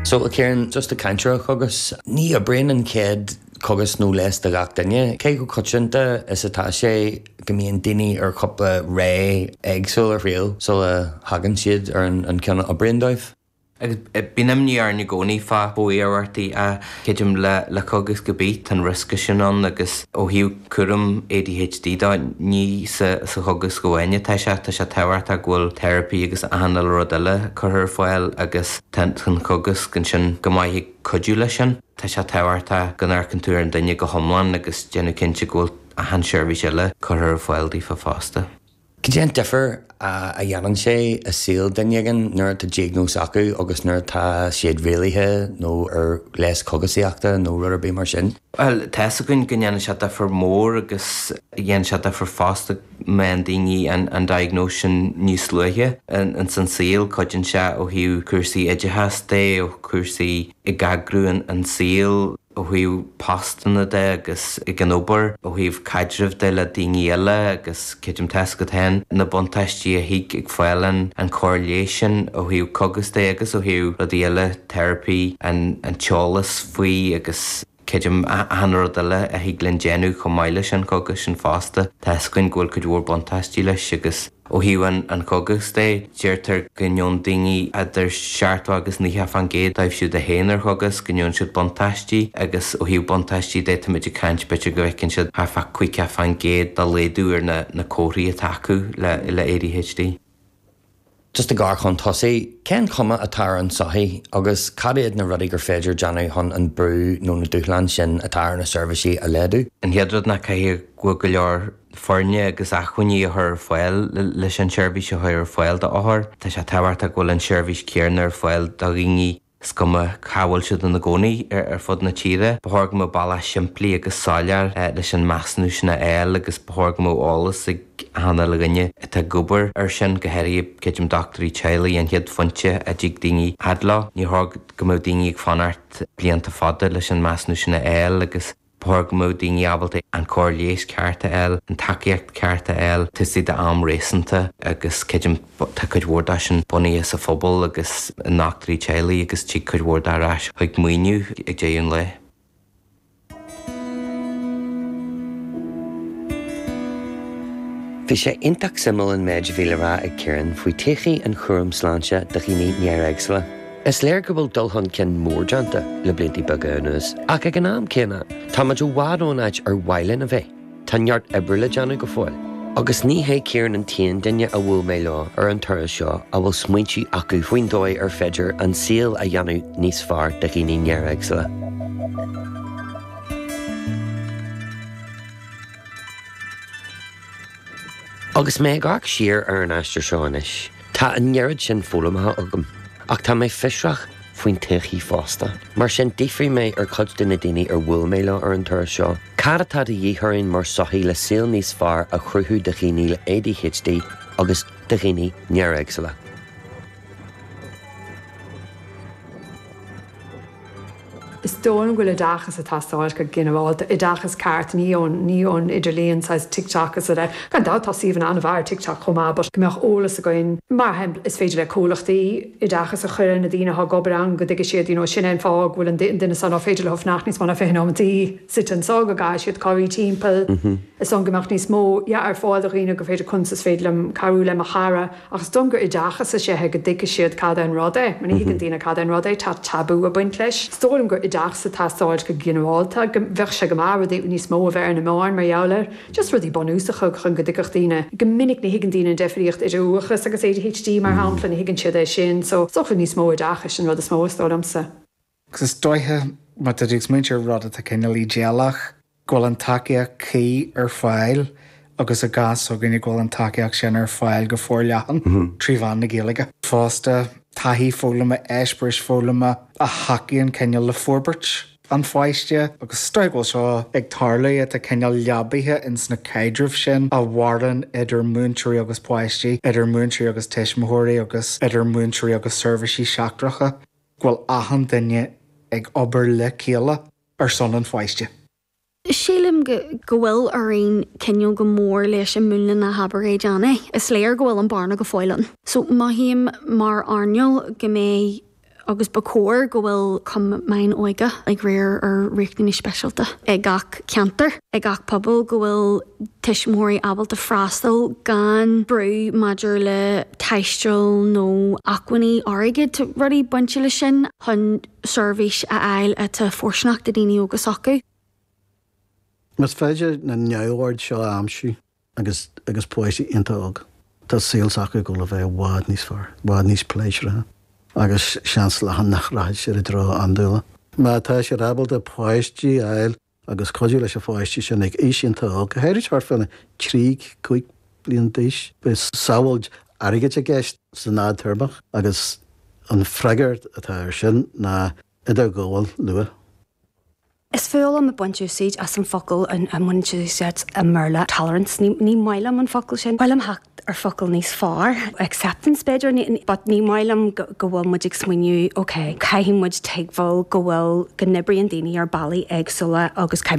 So, a Chiaráin, just ag caint ar an chógas, ní oibríonn an chéad chógas nó leigheas do gach duine. Cé chomh coitianta is atá sé go mbíonn daoine ar chúpla ré éagsúil a thriail sula thagann siad ar an ceann a oibríonn dóibh? Agus bíonn imní orainn i gcónaí fá iarmhairtí ach creidim le cogas ar bith, tá an riosca sin ann agus ó thaobh cúram ADHD de, ní sa chogas amháin atá sé, tá sé tábhachtach go bhfuil teiripí agus achan uile rud eile curtha ar fáil agus tá an cogas ansin go maith ag cuidiú leis sin. Tá sé tábhachtach go n-amharcann tú ar an duine go hiomlán agus déanamh cinnte go bhfuil achan seirbhís eile curtha ar fáil daofa fosta. Cad é an difear a dhéanann sé i saol duine éigin nuair atá diagnóis acu agus nuair atá siad rialaithe nó ar leigheas cogasaíochta nó rud ar bith mar sin? Bhuel, tá 'fhios againn go ndéanann sé difear mór agus dhéanann sé difear fosta má fhaigheann daoine an diagnóis sin níos luaithe ins an saol. Cuidíonn sé ó thaobh cúrsaí oideachais de, ó chúrsaí ag eagrú an saoil. ó thaobh postanna de agus ag an obair, ó thaobh caidrimh de le daoine eile agus creidim tá 'fhios agat féin na buntáistí a thig ag fáil an an cóir leighis sin ó thaobh cogas de agus ó thaobh rudaí eile, teiripí, an an t-eolas faoi agus creidim achan rud eile a thig linn déanamh chomh maith leis an chogas sin fosta. Tá 'fhios againn go bhfuil cuid mhór buntáistí leis agus. Ó thaobh an chógais de, deirtear go ngeobhann daoine idir 70 agus 90% dóibh siúd a théann ar chógas, go ngeobhann siad buntáistí agus ó thaobh buntáistí de, táimid ag caint b'fhéidir go bhfeiceann siad thart fá 50% de laghdú ar na comharthaí atá acu le ADHD. Just ag amharc chun tosaigh, cén chuma atá ar an tsochaí agus cad iad na rudaí gur féidir déanamh chun an brú nó na dúshláin sin atá ar na seirbhísí a laghdú? An chéad rud ná caithfidh go bhfuil go leor foirne agus acmhainní a chur ar fáil leis an tseirbhís a chur ar fáil d'othair. Tá sé tábhachtach go bhfuil an tseirbhís chéanna ar fáil do dhaoine is cuma cá bhfuil siad ina gcónaí ar fud na tíre. Ba chóir go mbeadh bealach simplí agus soiléir leis an measúnú sin a fháil agus ba chóir go mbeadh eolas ag achan uile dhuine atá ag obair air sin, go háirithe creidim dochtúirí teaghlaigh, an chéad phointe a dtig daoine fhad leo. Ní chóir go mbeadh daoine ag fanacht blianta fada leis an measúnú sin a fháil agus Ba chóir go mbeadh daoine ábalta an cóir leighis ceart a fháil, an tacaíocht ceart a fháil, taobh istigh d'am réasúnta agus creidim tá cuid mhór de sin bunaithe sa phobal agus i ndochtúirí teaghlaigh agus tig cuid mhór de ar ais chuig maoiniú ag deireadh an lae. Bhí sé iontach suimiúil an méid a bhí le rá ag Ciarán faoi todhchaí an chúraim sláinte do dhaoine néaréagsúla. Is léir go bhfuil dul chun cinn mór déanta le blianta beaga anuas, ach ag an am céanna, tá muid i bhfad ón áit ar mhaith linn a bheith. Tá neart oibre le déanamh go fóill. Agus ní hé Ciarán an t-aon duine a bhuail mé leo ar an turas seo a bhfuil smaointe acu faoin dóigh ar féidir an saol a dhéanamh níos fearr do dhaoine néaréagsúla. Agus mé ag amharc siar ar an aistear seo anois, tá an oiread sin foghlamtha agam, ach tá mé fiosrach faoin todhchaí fosta. Mar sin, d'fhiafraigh mé ar chuid de na daoine ar bhuail mé leo ar an turas seo, cad atá de dhíth orainn mar sochaí le saol níos fearr a chruthú do dhaoine le ADHD agus do dhaoine néaréagsúla? Is dóigh liom go bhfuil oideachas ag teastáil go ginearálta, oideachas ceart, ní ón, ní ón idirlíon, saghas TikTok is a Gan dabht tá suíomhanna an-mhaith ar TikTok chomh maith but go mbeadh eolas againn, mar shampla, is féidir le comhlachtaí oideachas a chur ar na daoine atá ag obair ann go dtuigfidh siad, you know, sin é an fáth go bhfuil an duine seo ná féidir leo fanacht níos mó ná 20 nóimeataí suite anseo, go gcaithfidh siad corraí timpeall. Is dóigh liom go mbeadh níos mó, yeah, ar fáil do dhaoine gur féidir conas is féidir liom cabhrú le mo chara. Ach is dóigh liom gur oideachas is ea é go dtuigfidh siad cad é an rud é. Mar ní thuigeann daoine cad é an rud é, tá tabú ag baint leis. Is dóigh liom gur oideachas ag teastáil go ginearálta, go bheadh sé go maith rudaí níos mó a bheith ar na meáin mar gheall air. Just rudaí bunúsacha chun go dtuigfeadh daoine. Go minic ní thuigeann daoine an deifríocht idir uathachas agus ADHD mar shampla, ní thuigeann siad é sin. So is dócha níos mó oideachais an rud is mó is dóigh liomsa. Agus is dóiche, má tá tú ag smaointiú ar rud atá cineál ídéalach, go bhfuil an tacaíocht cuí ar fáil agus i gcás s'againne go bhfuil an tacaíocht sin ar fáil go forleathan trí mheán na Gaeilge. Fosta, taithí foghlama, eispéiris foghlama a thacaíonn cineál le forbairt an pháiste agus is dóiche go bhfuil seo ag tarlú, atá cineál leabaithe ins na caidrimh sin a mhaireann idir múinteoirí agus páistí, idir múinteoirí agus tuismitheoirí agus idir múinteoirí agus seirbhísí seachtracha. go bhfuil achan duine ag obair le chéile ar son an pháiste. Sílim go go bhfuil orainn coinneáil go mór leis an múnla ná habair é déan é. Is léir go bhfuil an bearna go fóill ann. So mothaím mar earnáil go mbeidh. Agus ba chóir go bhfuil cumainn óige ag riar ar riachtanais speisialta i gach ceantar, i gach pobal, go bhfuil tuismitheoirí ábalta freastal gan brú maidir le taisteal nó acmhainní airgid, rudaí bainte leis sin, chun seirbhís a fháil atá fóirsteanach do daoine óga s'acu. Más féidir na neamhoird seo a aimsiú, agus agus páistí iontach óg. Tá saol s'acu ag dul a bheith i bhfad níos fearr, i bhfad níos pléisiúrtha agus seans leathan nach rachaidh siad i dtreo andúile. Má tá siad ábalta páistí a fháil agus cuidiú leis na pháistí sin ag aois iontach óg, go háirid thart fá na 3, 5 bliain d'aois, beidh sábháil airgid i gceist san fhadtéarmach agus an freagra atá air sin ná idirghabháil luath. Is fuath liom ag baint úsaíd as an focal a mbaineann siad úsáid i mBéarla, tolerance. Ní ní maith liom an focal sin. Ba mhaith liom theacht ar focal níos fearr, acceptance b'fhéidir, but ní maith liom go go bhfuil muid ag smaoineamh ok, caithfidh muid tuigbheáil go bhfuil, go n-oibríonn daoine ar bealaí éagsúla agus caithfidh.